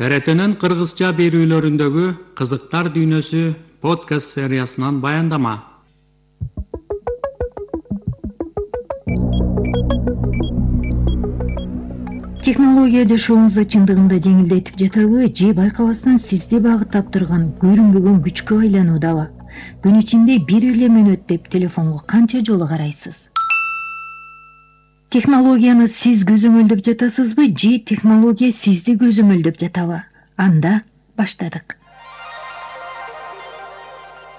ТРТнын кыргызча берүүлөрүндөгү кызыктар дүйнөсү подкаст сериясынан баяндама. Технология жашооңузду чындыгында жеңилдетип жатабы же байкабастан сизди багыттап турган көрүнбөгөн күчкө айлануудабы? Күн ичинде бир эле мүнөт деп телефонго канча жолу карайсыз? Технологияны сиз көзөмөлдөп жатасызбы же технология сизди көзөмөлдөп жатабы? Анда баштадык.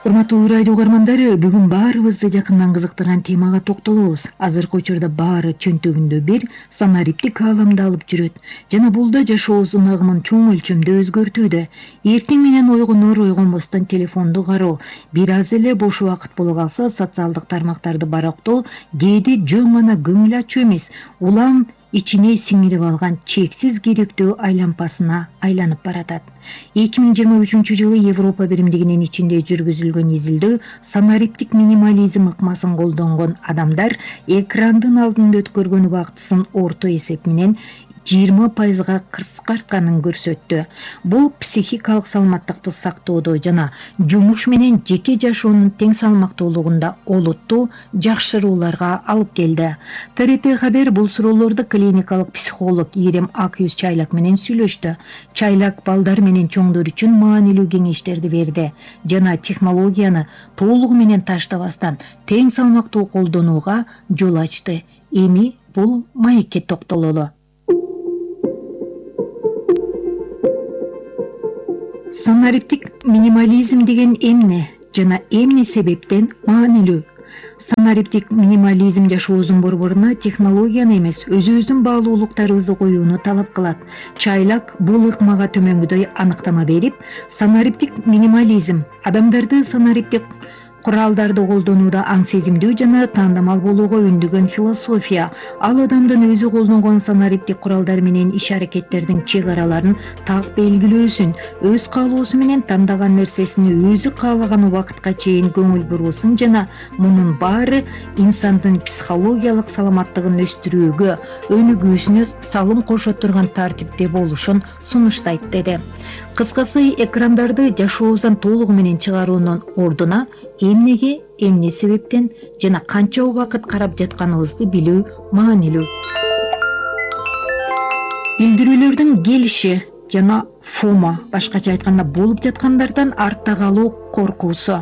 Урматтуу радио угармандары, бүгүн баарыбызды жакындан кызыктырган темага токтолобуз. Азыркы учурда баары чөнтөгүндө бир санариптик ааламда алып жүрөт жана бул да жашообуздун агымын чоң өлчөмдө өзгөртүүдө. Эртең менен ойгонбостон телефонду кароо, бир аз эле бош убакыт боло калса социалдык тармактарды барактоо кээде жөн гана көңүл ачуу эмес, улам ичине сиңирип алган чексиз керектөө айлампасына айланып баратат. 2023-жылы Европа биримдигинин ичинде жүргүзүлгөн изилдөө санариптик минимализм ыкмасын колдонгон адамдар экрандын алдында өткөргөн убактысын орто эсеп менен 20% кыскартканын көрсөттү. Бул психикалык саламаттыкты сактоодо жана жумуш менен жеке жашоонун тең салмактуулугунда олуттуу жакшырууларга алып келди. ТРТ Хабер бул суроолорду клиникалык психолог Ирем Акюз Чайлак менен сүйлөштү. Чайлак балдар менен чоңдор үчүн маанилүү кеңештерди берди жана технологияны толугу менен таштабастан тең салмактуу колдонууга жол ачты. Эми бул маекке токтололу. Санариптик минимализм деген эмне жана эмне себептен маанилүү? Санариптик минимализм жашообуздун борборуна технологияны эмес, өзүбүздүн баалуулуктарыбызды коюуну талап кылат. Чайлак бул ыкмага төмөнгүдөй аныктама берип, санариптик минимализм адамдарды санариптик куралдарды колдонууда аң сезимдүү жана таандамал болууга үндөгөн философия. Ал адамдын өзү колдонгон санариптик куралдар менен иш-аракеттердин чек араларын так белгилөөсүн, өз каалоосу менен тандаган нерсесине өзү каалаган убакытка чейин көңүл буруусун жана мунун баары инсандын психологиялык саламаттыгын өстүрүүгө, өнүгүүсүнө салым кошо турган тартипте болушун сунуштайт деди. Кыскасы, экрандарды жашообуздан толугу менен чыгаруунун ордуна эмнеге, эмне себептен жана канча убакыт карап жатканыбызды билүү маанилүү. Билдирүүлөрдүн келиши жана фомо, башкача айтканда болуп жаткандардан артта калуу коркуусу.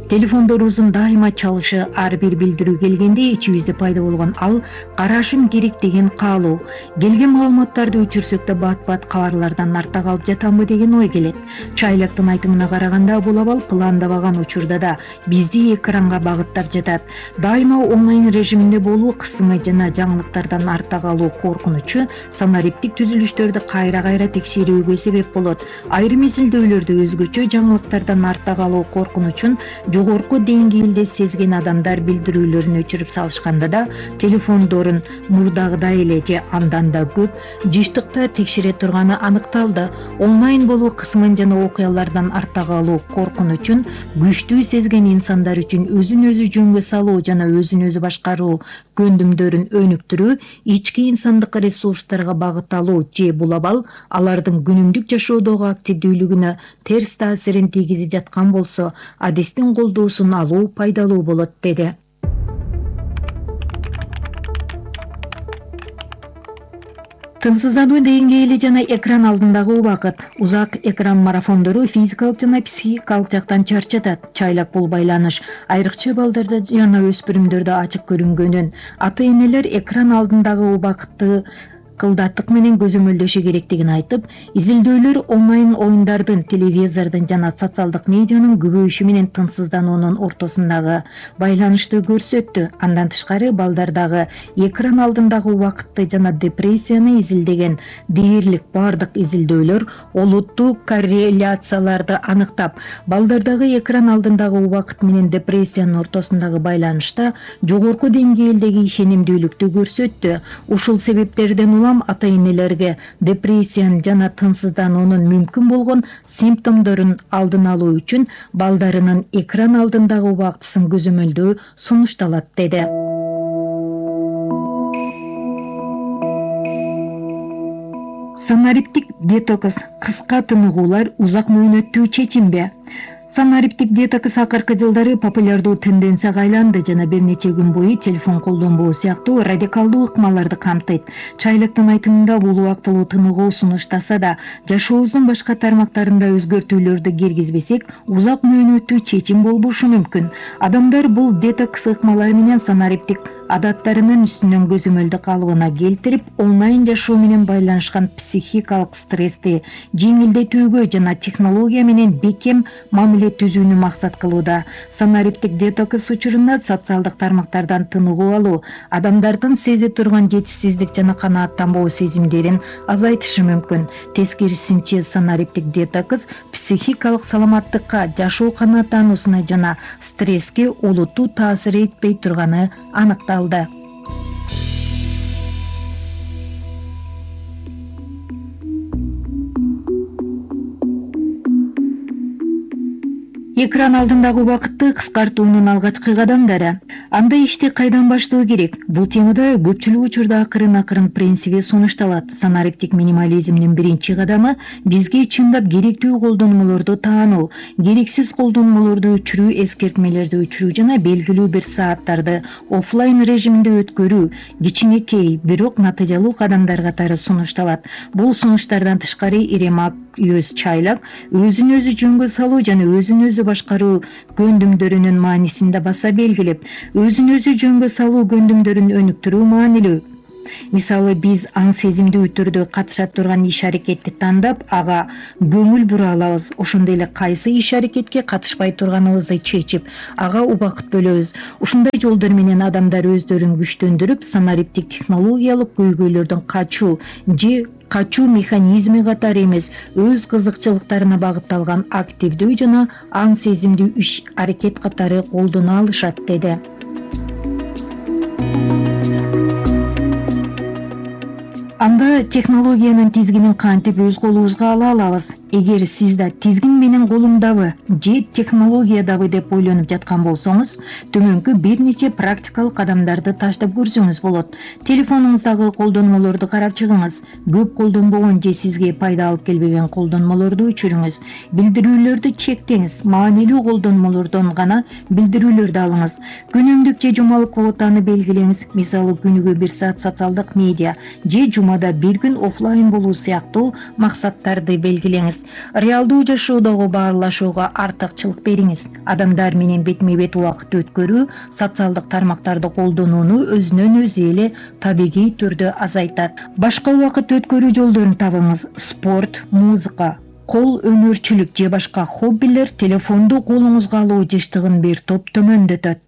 Телефондорубуздун дайыма чалышы, ар бир билдирүү келгенде ичибизде пайда болгон ал карашым керек деген каалоо, келген маалыматтарды өчүрсөк да бат-бат кабарлардан артта калып жатамбы деген ой келет. Чайлактын айтымына караганда бул абал пландабаган учурда да бизди экранга багыттап жатат. Дайыма онлайн режиминде болуу кысымы жана жаңылыктардан артта калуу коркунучу санариптик түзүлүштөрдү кайра-кайра текшерүүгө себеп болот. Айрым изилдөөлөрдө өзгөчө жаңылыктардан артта калуу коркунучун жогорку деңгээлде сезген адамдар билдирүүлөрүн өчүрүп салышканда да телефондорун мурдагыдай эле же андан да көп жыштыкта текшере турганы аныкталды. Онлайн болуу кысымын жана окуялардан артта калуу коркунучун күчтүү сезген инсандар үчүн өзүн өзү жөнгө салуу жана өзүн өзү башкаруу көндүмдөрүн өнүктүрүү, ички инсандык ресурстарга багытталуу же бул абал алардын күнүмдүк жашоодогу активдүүлүгүнө терс таасирин тийгизип жаткан болсо, адистин колдоосун алуу пайдалуу болот деди. Тынчсыздануу деңгээли жана экран алдындагы убакыт. Узак экран марафондору физикалык жана психикалык жактан чарчатат. Чайлак бул байланыш айрыкча балдарда жана өспүрүмдөрдө ачык көрүнгөнүн, ата-энелер экран алдындагы убакытты кылдаттык менен көзөмөлдөшү керектигин айтып, изилдөөлөр онлайн оюндардын, телевизордун жана социалдык медианын көбөйүшү менен тынчсыздануунун ортосундагы байланышты көрсөттү. Андан тышкары, балдардагы экран алдындагы убакытты жана депрессияны изилдеген дээрлик бардык изилдөөлөр олуттуу корреляцияларды аныктап, балдардагы экран алдындагы убакыт менен депрессиянын ортосундагы байланышта жогорку деңгээлдеги ишенимдүүлүктү көрсөттү. Ушул себептерден улам ата-энелерге депрессиянын жана тынчсыздануунун мүмкүн болгон симптомдорун алдын алуу үчүн балдарынын экран алдындагы убактысын көзөмөлдөө сунушталат деди. Санариптик детокс кыска тыныгуулар узак мөөнөттүү чечимби? Санариптик детокс акыркы жылдары популярдуу тенденцияга айланды жана бир нече күн бою телефон колдонбоо сыяктуу радикалдуу ыкмаларды камтыйт. Чайлыктын айтымында бул убактылуу тыныгуу сунуштаса да, жашообуздун башка тармактарында өзгөртүүлөрдү киргизбесек, узак мөөнөттүү чечим болбошу мүмкүн. Адамдар бул детокс ыкмалары менен санариптик адаттарынын үстүнөн көзөмөлдү калыбына келтирип, онлайн жашоо менен байланышкан психикалык стрессти жеңилдетүүгө жана технология менен бекем мамиле түзүүнү максат кылууда. Санариптик детокс учурунда социалдык тармактардан тыныгуу алуу адамдардын сезе турган жетишсиздик жана канааттанбоо сезимдерин азайтышы мүмкүн. Тескерисинче, санариптик детокс психикалык саламаттыкка, жашоо канааттануусуна жана стресске олуттуу таасир этпей турганы аныкталды. Экран алдындагы убакытты кыскартуунун алгачкы кадамдары. Анда ишти кайдан баштоо керек? Бул темада көпчүлүк учурда акырын принциби сунушталат. Санариптик минимализмдин биринчи кадамы бизге чындап керектүү колдонмолорду таануу, керексиз колдонмолорду өчүрүү, эскертмелерди өчүрүү жана белгилүү бир сааттарды оффлайн режимде өткөрүү кичинекей, бирок натыйжалуу кадамдар катары сунушталат. Бул сунуштардан тышкары иремак, өз чайлак, өзүн өзү жөнгө салуу жана өзүн өзү башкаруу көндүмдөрүнүн маанисин да баса белгилеп, өзүн өзү жөнгө салуу көндүмдөрүн өнүктүрүү маанилүү. Мисалы, биз аң сезимдүү түрдө катыша турган иш-аракетти тандап, ага көңүл бура алабыз. Ошондой эле кайсы иш-аракетке катышпай турганыбызды чечип, ага убакыт бөлөбүз. Ушундай жолдор менен адамдар өздөрүн күчтөндүрүп, санариптик технологиялык көйгөйлөрдөн качуу же качуу механизми катары эмес, өз кызыкчылыктарына багытталган активдүү жана аң сезимдүү иш-аракет катары колдоно алышат, деди. Анда технологиянын тизгинин кантип өз колубузга ала алабыз? Эгер сиз да тизгин менен колумдабы же технологиядабы деп ойлонуп жаткан болсоңуз, төмөнкү бир нече практикалык кадамдарды таштап көрсөңүз болот. Телефонуңуздагы колдонмолорду карап чыгыңыз. Көп колдонбогон же сизге пайда алып келбеген колдонмолорду өчүрүңүз. Билдирүүлөрдү чектеңиз. Маанилүү колдонмолордон гана билдирүүлөрдү алыңыз. Күнүмдүк же жумалык квотаны белгилеңиз. Мисалы, күнүгө 1 саат социалдык медиа же жумада 1 күн оффлайн болуу сыяктуу максаттарды белгилеңиз. Реалдуу жашоодогу баарлашууга артыкчылык бериңиз. Адамдар менен бетме-бет убакыт өткөрүү социалдык тармактарды колдонууну өзүнөн өзү эле табигый түрдө азайтат. Башка убакыт өткөрүү жолдорун табыңыз. Спорт, музыка, кол өнөрчүлүк же башка хоббилер телефонду колуңузга алуу жыштыгын бир топ төмөндөтөт.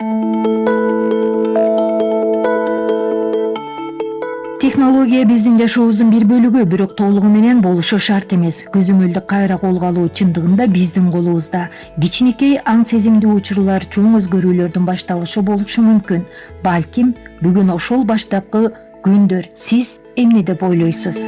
Технология биздин жашообуздун бир бөлүгү, бирок толугу менен болушу шарт эмес. Көзөмөлдү кайра колго алуу чындыгында биздин колубузда. Кичинекей аң сезимдүү учурлар чоң өзгөрүүлөрдүн башталышы болушу мүмкүн. Балким бүгүн ошол баштапкы күндөр. Сиз эмне деп ойлойсуз?